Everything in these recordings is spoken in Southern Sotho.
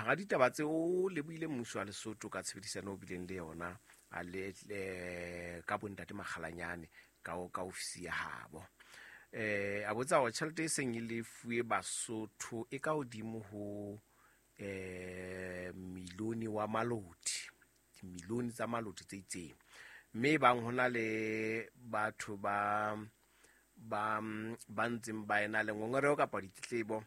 Hara ditaba tseo o lebohile mmuso wa Lesotho ka tshebedisano o bileng le yona a le ka bontate Makgalanyane ka ofisi ya habo. A botsa hore tjhelete e seng e lefuwe Basotho e ka hodimo ho milione wa maloti, dimilione tsa maloti tse itseng, mme bang hona le batho ba ntseng ba ena le ngongoreho kapa ditletlebo,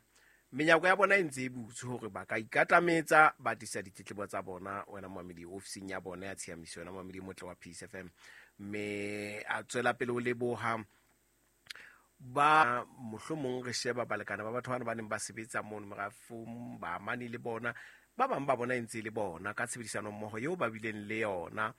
menyako ya bona e ntse e butswe hore ba ka ikatametsa ba tlisa ditletlebo tsa bona wena momamedi ofising ya bona ya tshiamiso, wena momamedi motle wa Peace FM. Mme a tswela pele ho leboha ba mohlomong re sheba balekane ba batho bana ba neng ba sebetsa mono merafong, ba amane le bona, ba bang ba bona e ntse e le bona ka tshebedisano mmoho eo ba bileng le yona,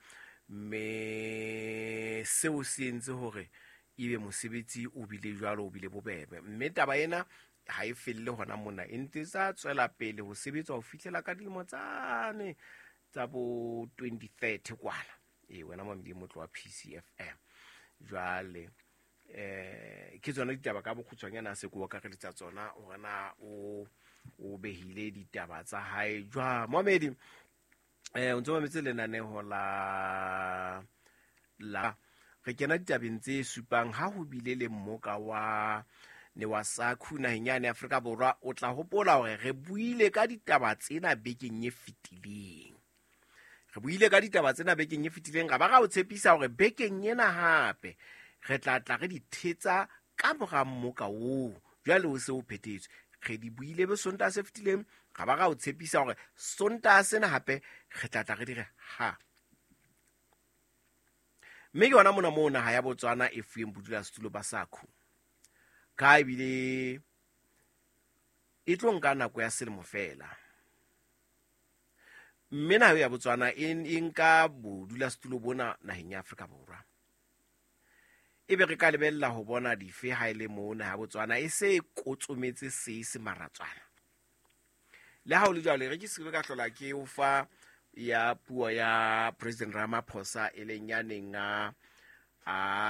mme seo se entse hore ebe mosebetsi o bile jwalo, o bile bobebe. Mme taba ena ha e felle hona mona, e ntse tsa tswela pele ho sebetswa ho fihlela ka dilemo tsane tsa bo 2030 kwana. Wena momamedi motle wa PCFM. Jwale ke tsona ditaba ka bokgutshwanyane a se ko akareletsa tsona hore na o behile ditaba tsa hae jwang. Momamedi, o ntso mametse lenaneho la re kena ditabeng tse supang ha ho bile le mmoka wa ne wa SACU naheng yane Afrika Borwa. O tla hopola hore re buile ka ditaba tsena bekeng e fetileng. Re buile ka ditaba tsena bekeng e fetileng, ra ba ra o tshepisa hore bekeng ena hape re tla tla re di thetsa ka mora mmoka oo jwale o se o phethetswe. Re di buile be Sontaha se fetileng, ra ba ra o tshepisa hore Sontaha sena hape re tla tla re di re ha. Mme ke yona mona moo naha ya Botswana e fuweng bodulasetulo ba SACU, ka ebile e tlo nka nako ya selemo fela. Mme naha ya Botswana e nka bodulasetulo bona naheng ya Afrika Borwa. Ebe re ka lebella ho bona dife ha e le moo naha ya Botswana e se e kotsometse se maratswana. Le ha ho le jwalo, re ke se ka hlola ke o fa ya puo ya President Ramaphosa e leng ya neng a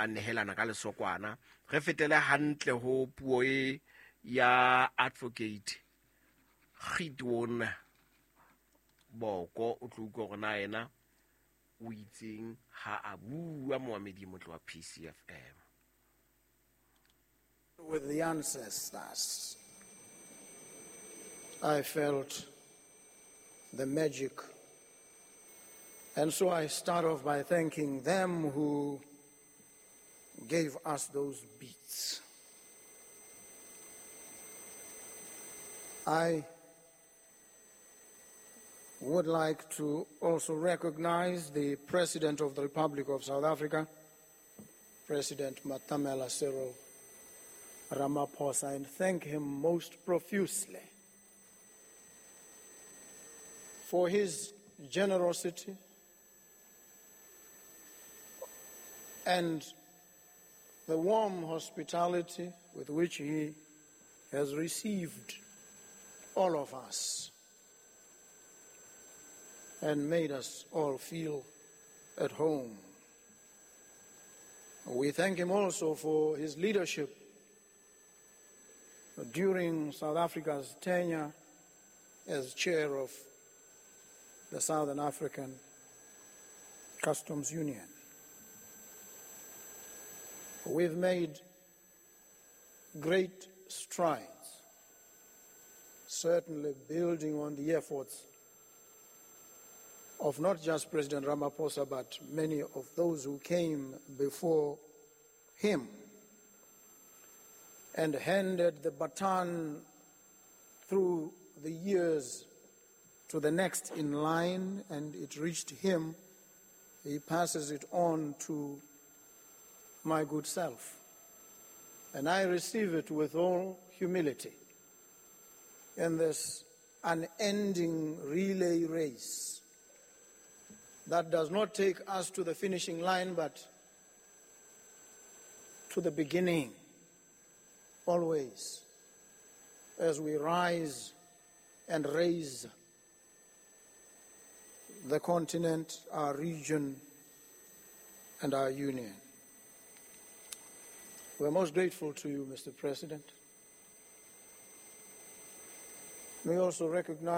nehelana ka lesokwana. Re fetele hantle ho puo e ya Advocate Gideon Boko. O tlo utlwa hore na yena o itseng ha a bua momamedi motle wa PCFM. With the ancestors, I felt the magic. And so I start off by thanking them who gave us those beats. I would like to also recognize the President of the Republic of South Africa, President Matamela Cyril Ramaphosa, and thank him most profusely for his generosity and the warm hospitality with which he has received all of us and made us all feel at home. We thank him also for his leadership during South Africa's tenure as chair of the Southern African Customs Union. We've made great strides, certainly building on the efforts of not just President Ramaphosa, but many of those who came before him and handed the baton through the years to the next in line, and it reached him. He passes it on to my good self. And I receive it with all humility in this unending relay race that does not take us to the finishing line, but to the beginning, always, as we rise and raise the continent, our region, and our union. We're most grateful to you, Mr. President. We also recognize